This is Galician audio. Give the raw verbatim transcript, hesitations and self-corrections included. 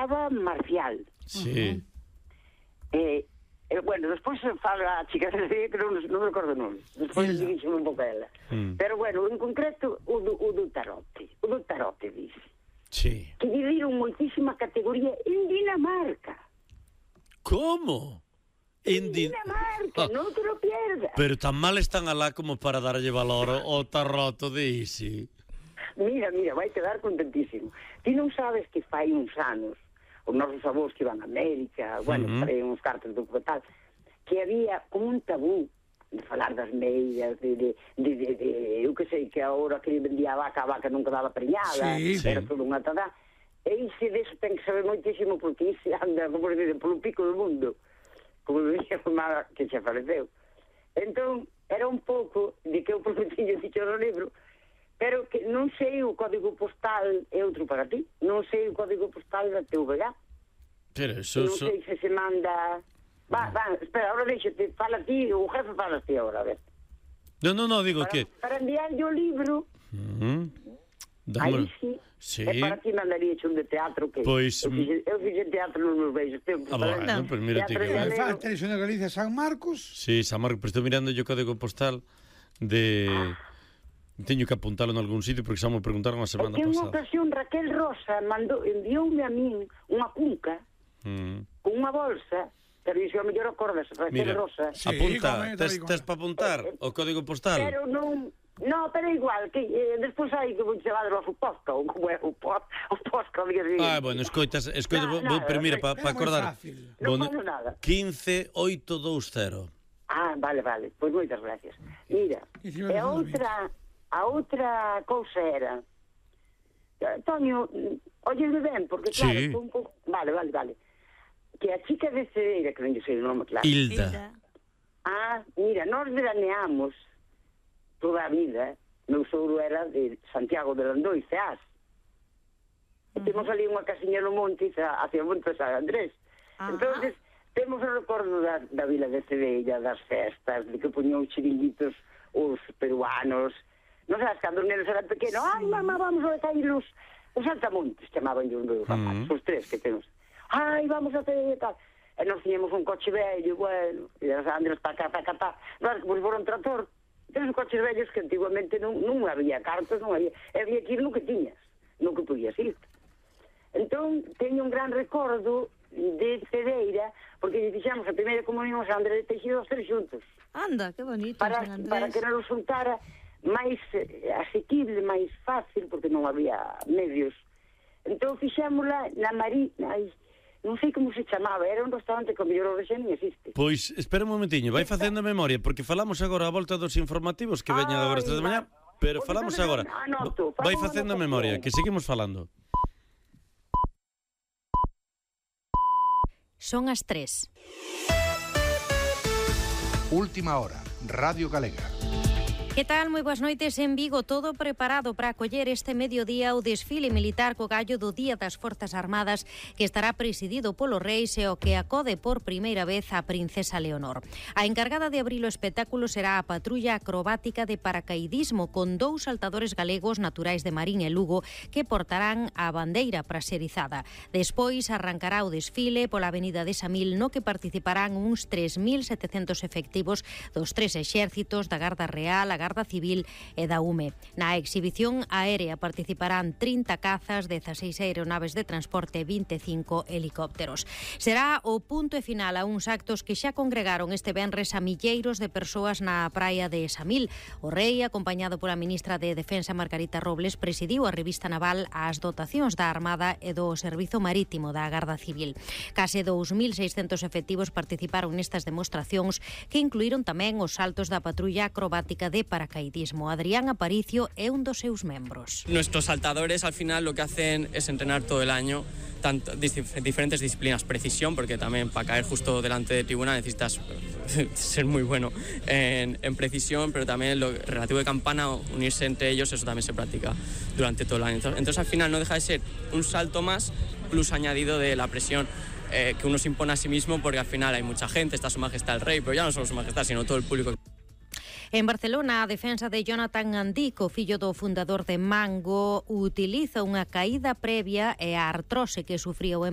chamaba Marcial. Sí. Eh, eh, bueno, despois fala a chica que non, non me recordo non. Despois dixeme un pouco a ela. Mm. Pero bueno, en concreto, o do, o do tarote. O do tarote, dice. Sí. Que dividiron moitísima categoría en Dinamarca. Como? En Dinamarca, ah. non te lo pierdas. Pero tan mal están alá como para darlle valor ao tarroto de Isi. Mira, mira, vai quedar contentísimo. Ti non sabes que fai uns anos os nosos avós que iban a América, bueno, uh-huh. traen uns cartos do tal, que había como un tabú de falar das meias, de, de, de, de, de eu que sei, que agora que vendía a vaca, a vaca nunca daba preñada, sí, era sí. todo unha tada. E iso deso ten que saber moitísimo, porque iso anda, como se dice, polo pico do mundo, como dixía a mamá que xa faleceu. Entón, era un pouco de que eu prometiño dicho no libro, pero que non sei o código postal é outro para ti, non sei o código postal da T V G. Pero eso... Non sei se se manda... Va, va, espera, ahora deixate, fala ti, o jefe fala ti ahora, a ver. No, no, no, digo para, que... Para enviarlle o libro, uh-huh. aí sí, sí, e para ti mandaría un de teatro que... Pois... Eu fixe, eu fixe teatro nos meus beijos. Ah, bueno, no, pues mira ti que... Me falta iso na Galicia, San Marcos. Sí, San Marcos, pero estou mirando yo o código postal de... Ah. Teño que apuntalo en algún sitio porque xa me preguntaron a semana pasada. É que pasada. unha ocasión Raquel Rosa mandou, envioume a min unha cunca mm. con unha bolsa, pero iso a mellor acordas, Raquel Mira, Rosa. Sí, apunta, tes, tes para apuntar eh, o código postal? Pero non... No, pero igual, que eh, despois hai que vou chamar o Posca, ou como é o Posca, o Posca, diga así. Ah, bueno, escoitas, escoitas, no, no, pero mira, para pa acordar. Non bueno, nada. quince oito vinte. Ah, vale, vale, pois moitas gracias. Mira, e a outra, a outra cousa era, Toño, óyeme ben, porque claro, sí. un pouco... Vale, vale, vale. Que a chica de Cedeira, que non sei o nome claro. Hilda. Ah, mira, nós veraneamos toda a vida, meu sogro era de Santiago de Landoi, Ceás. E temos ali unha casiña no monte hacia o Monte de San Andrés. Uh-huh. Entonces, temos o recordo da, da vila de Cedeira, das festas, de que poñían os chiringuitos os peruanos. Non sabes, cando os nenos eran pequenos, sí. Ai, mamá, vamos a cair os, os saltamontes, chamaban os meus papás, uh-huh. os tres que temos. Ai, vamos a Cedeira e tal. E nos tiñamos un coche vello, bueno, e as Andrés para cá, para cá, para cá. Claro, como se fora un trator. Tens coches vellos que antiguamente non, non había cartas, non había, había que ir no que tiñas, no que podías ir. Entón, teño un gran recordo de Cedeira, porque lle fixamos a primeira comunión a San Andrés de Teixido os tres xuntos. Anda, que bonito, para, San Andrés. Para que non resultara máis eh, asequible, máis fácil, porque non había medios. Entón, fixámola na Marina... Non sei como se chamaba, era un restaurante que o mellor o xa non existe. Pois, espera un momentiño, vai facendo memoria, porque falamos agora a volta dos informativos que veñan agora as tres de mañá, pero falamos agora. Anoto, vai facendo memoria, que seguimos falando. Son as tres. Última hora, Radio Galega. Que tal? Moi boas noites. En Vigo, todo preparado para acoller este mediodía o desfile militar co gallo do Día das Forzas Armadas, que estará presidido polo Reis e o que acode por primeira vez a Princesa Leonor. A encargada de abrir o espectáculo será a patrulla acrobática de paracaidismo con dous saltadores galegos naturais de Marín e Lugo que portarán a bandeira praxerizada. Despois arrancará o desfile pola avenida de Samil, no que participarán uns tres mil setecentos efectivos dos tres exércitos, da Garda Real, a Garda Civil e da U M E. Na exhibición aérea participarán trinta cazas, dezaseis aeronaves de transporte e vinte e cinco helicópteros. Será o punto e final a uns actos que xa congregaron este venres a milleiros de persoas na praia de Samil. O Rei, acompañado pola ministra de Defensa Margarita Robles, presidiu a revista naval ás dotacións da Armada e do Servizo Marítimo da Garda Civil. Case dous mil seiscentos efectivos participaron nestas demostracións que incluíron tamén os saltos da patrulla acrobática de paracaidismo. Adrián Aparicio é un dos seus membros. Nuestros saltadores al final lo que hacen es entrenar todo el año tanto, diferentes disciplinas, precisión, porque también para caer justo delante de tribuna necesitas ser muy bueno en, en precisión, pero también lo relativo de campana, unirse entre ellos, eso también se practica durante todo el año. Entonces, entonces al final no deja de ser un salto más, plus añadido de la presión eh, que uno se impone a sí mismo, porque al final hay mucha gente, está su majestad el rey, pero ya no solo su majestad, sino todo el público. En Barcelona, a defensa de Jonathan Andico, fillo do fundador de Mango, utiliza unha caída previa e a artrose que sufriu o empresario